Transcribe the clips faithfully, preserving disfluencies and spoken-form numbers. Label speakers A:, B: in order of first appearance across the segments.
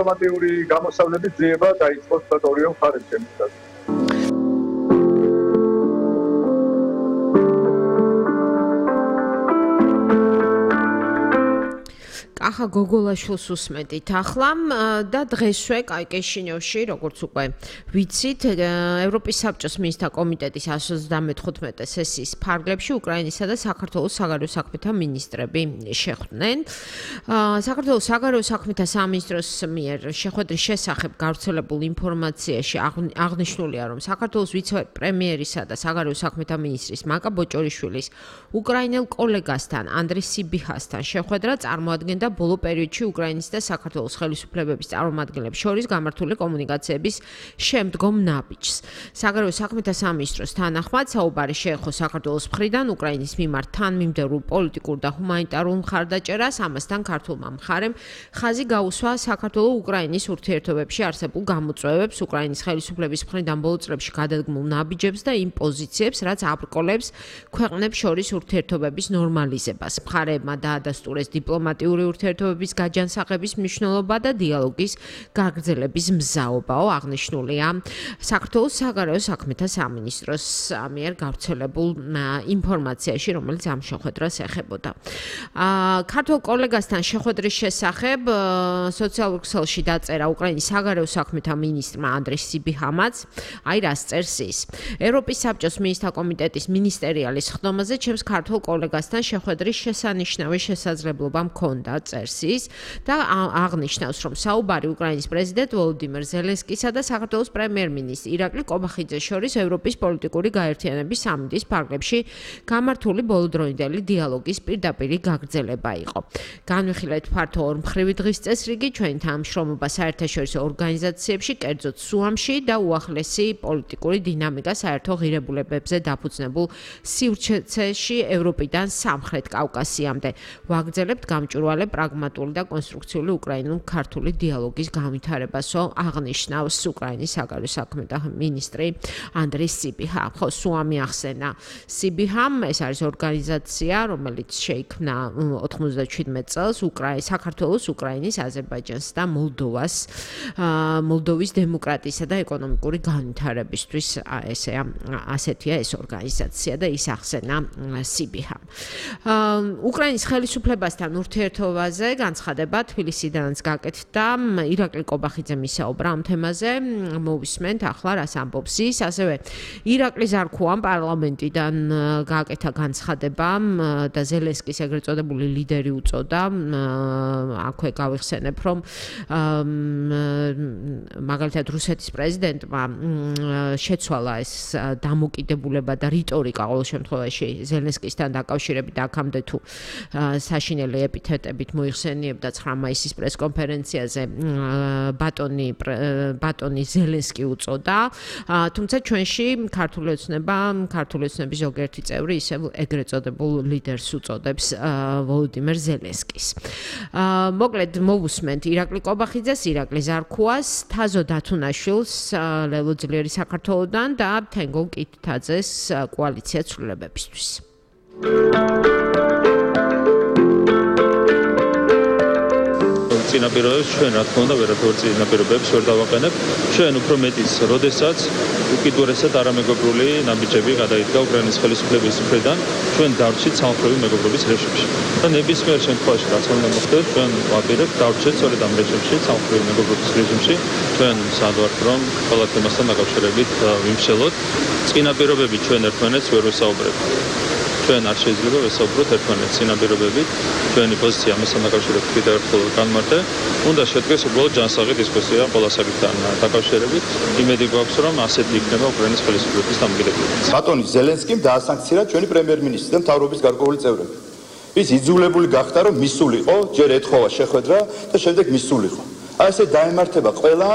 A: დიპლომატიური გამოსავლების ძიება დაიწყო ორივე მხარეს შემიძლია.
B: ახლა გოგოლაშვილს უსმენთ ახლა და დღესვე კაი კეშინევში როგორც უკვე ვიცით ევროპის საბჭოს მინისტრთა კომიტეტის εκατო ოცდამეთხუთმეტე სესიის ფარგლებში უკრაინისა და საქართველოს საგარეო საქმეთა მინისტრები შეხვდნენ. საქართველოს საგარეო საქმეთა სამინისტროს მიერ შეხვედრის შესახებ გავრცელებულ ინფორმაციაში აღნიშნულია, რომ საქართველოს ვიცე-პრემიერისა და საგარეო საქმეთა მინისტრის მაკა ბოჭორიშვილის უკრაინელ კოლეგასთან ანდრე სიბიჰასთან შეხვედრა წარმოადგენდა ბოლო პერიოდში უკრაინის და საქართველოს ხელისუფლებების წარმომადგენლებს შორის გამართული კომუნიკაციების შემდგომ ნაბიჯს. საგარეო საქმეთა სამინისტროს თანახმად საუბარი შეეხო საქართველოს მხრიდან უკრაინის მიმართ თანმიმდევრულ პოლიტიკურ და ჰუმანიტარულ მხარდაჭერას, ამასთან ქართულმა მხარემ ხაზი გაუსვა საქართველო-უკრაინის ურთიერთობებში არსებულ გამოწვევებს, უკრაინის ხელისუფლების მხრიდან ბოლო წლებში გადადგმულ ნაბიჯებს და იმ პოზიციებს, რაც აბრკოლებს ქვეყნებს შორის ურთიერთობების ნორმალიზებას. მხარეებმა დაადასტურეს დიპლომატიური ურთიერთობების გაჯანსაღების მნიშვნელობა და დიალოგის გაგრძელების მზაობაო აღნიშნულია საქართველოს საგარეო საქმეთა სამინისტროს მიერ გავრცელებულ ინფორმაციაში, რომელიც ამ შეხვედრას ეხებოდა. ქართულ კოლეგასთან შეხვედრის შესახებ სოციალურ ქსელში დაწერა უკრაინის საგარეო საქმეთა მინისტრმა ანდრე სიბიჰამაც, აი რას წერს ის. ევროპის საბჭოს მინისტრთა კომიტეტის მინისტერიალის ხდომაზე ჩემს ქართულ კოლეგასთან შეხვედრის შესანიშნავი შესაძლებლობა მქონდა, წერს ის და აღნიშნავს, რომ საუბარი უკრაინის პრეზიდენტ ვოლოდიმირ ზელენსკისა და საქართველოს პრემიერ-მინისტრ ირაკლი კობახიძეს შორის ევროპის პოლიტიკური გაერთიანების სამინისტრის ფარგლებში გამართული ბოლოდროინდელი დიალოგის პირდაპირი გაგრძელება იყო. განვიხილეთ ფართო ორმხრივი დღის წესრიგი ჩვენი თანამშრომლობა საერთაშორისო ორგანიზაციებში, კერძოდ სუამში და უახლესი პოლიტიკური დინამიკა საერთო ღირებულებებზე დაფუძნებულ სივრცეში ევროპიდან სამხრეთ კავკასიამდე. ვაგრძელებთ გამჭვირვალე პრაგმატული და კონსტრუქციული უკრაინულ-ქართული დიალოგის განვითარებასო აღნიშნავს უკრაინის საგარეო საქმეთა მინისტრი ანდრე სიბიჰა. ხო, სუამი ახსენა სიბიჰამ, ეს არის ორგანიზაცია, რომელიც შეიქმნა ოთხმოცდაჩვიდმეტ წელს უკრაინის, საქართველოს, უკრაინის, აზერბაიჯანს და მოლდოვას, მოლდოვის დემოკრატიისა და ეკონომიკური განვითარებისთვის, ესეა, ასეთია ეს ორგანიზაცია და ის ახსენა სიბიჰამ. უკრაინის ხელისუფლებასთან ურთიერთობაზე განცხადება თბილისიდანაც გაკეთდა, ირაკლი კობახიძემ ისაუბრა ამ თემაზე, მოვისმენთ ახლა რას ამბობს ის, ასევე ირაკლი ზარქუამ პარლამენტიდან გააკეთა განცხადება და ზელენსკის ეგრეთ წოდებული ლიდერი უწოდა, აქვე გავიხსენებ, რომ მაგალითად რუსეთის პრეზიდენტმა შეცვალა ეს დამოკიდებულება და რიტორიკა ყოველ შემთხვევაში ზელენსკისთან დაკავშირებით აქამდე თუ საშინელი ეპითეტებით მოიხსენიებდა ცხრა მაისის პრესკონფერენციაზე ბატონი ბატონი ზელენსკი უწოდა, თუმცა ჩვენში ქართული ოცნება, ქართული ოცნების ზოგიერთი წევრი ისევ ეგრეთ წოდებულ ლიდერს უწოდებს ვოლოდიმირ ზელენსკის. მოკლედ მოვუსმენთ ირაკლი კობახიძეს, ირაკლი ზარქუას, თაზო დათუნაშვილს ლელო ძლიერი საქართველოდან და თენგო კითთაძეს კოალიცია ცვლილებებისთვის.
C: წინაპირობებს ჩვენ რა თქმა უნდა ვერაფერ წინაპირობებს ვერ დავაყენებ. ჩვენ უფრო მეტიც, როდესაც უკიდურესად არამეგობრული ნაბიჯები გადაიდგა უკრაინის ხელისუფლების მხრიდან, ჩვენ დარჩით სამხრეთი მეგობრობის რეჟიმში. და ნებისმიერ შემთხვევაში რაც უნდა მოხდეს, ჩვენ ვაპირებთ დარჩეთ სწორედ ამ რეჟიმში, სამხრეთი მეგობრობის რეჟიმში. ჩვენ სადავართ რომ ყველა თემასთან დაკავშირებით ვიმსჯელოთ. წინაპირობები ჩვენ ერთმანეთს ვერ ვესაუბრებთ. ჩვენ არ შეიძლება ვესაუბროთ ერთმანეთს წინაპირობებით, ჩვენი პოზიცია ამასთან დაკავშირებით კიდევ ერთხელ განმარტე. უნდა შედგეს უბრალოდ ჯანსაღი დისკუსია ყველა საკითხთან დაკავშირებით. იმედი გვაქვს, რომ ასეთი იქნება უკრაინის ხელისუფლების დამოკიდებულება.
D: ბატონი ზელენსკიმ დაასანქცია ჩვენი პრემიერ-მინისტრი და მთავრობის გარკვეული წევრები. ის იძულებული გახდა, რომ მისულიყო, ჯერ ეთხოვა შეხვედრა და შემდეგ მისულიყო. აი ესე დაემართება ყველა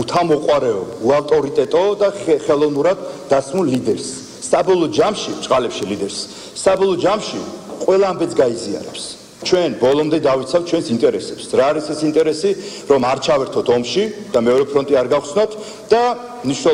D: უთამოყვარეო, უავტორიტეტო და ხელოვნურად დასმულ ლიდერს. საბოლოო ჯამში, ჭყალებში ლიდერს, საბოლოო ჯამში ყველა ამბეც გაიზიარებს. ჩვენ ბოლომდე დავიცავთ ჩვენს ინტერესებს. რა არის ეს ინტერესი, რომ არ ჩავერთოთ ომში და მეორე ფრონტი არ გავხსნათ და ნიშნულ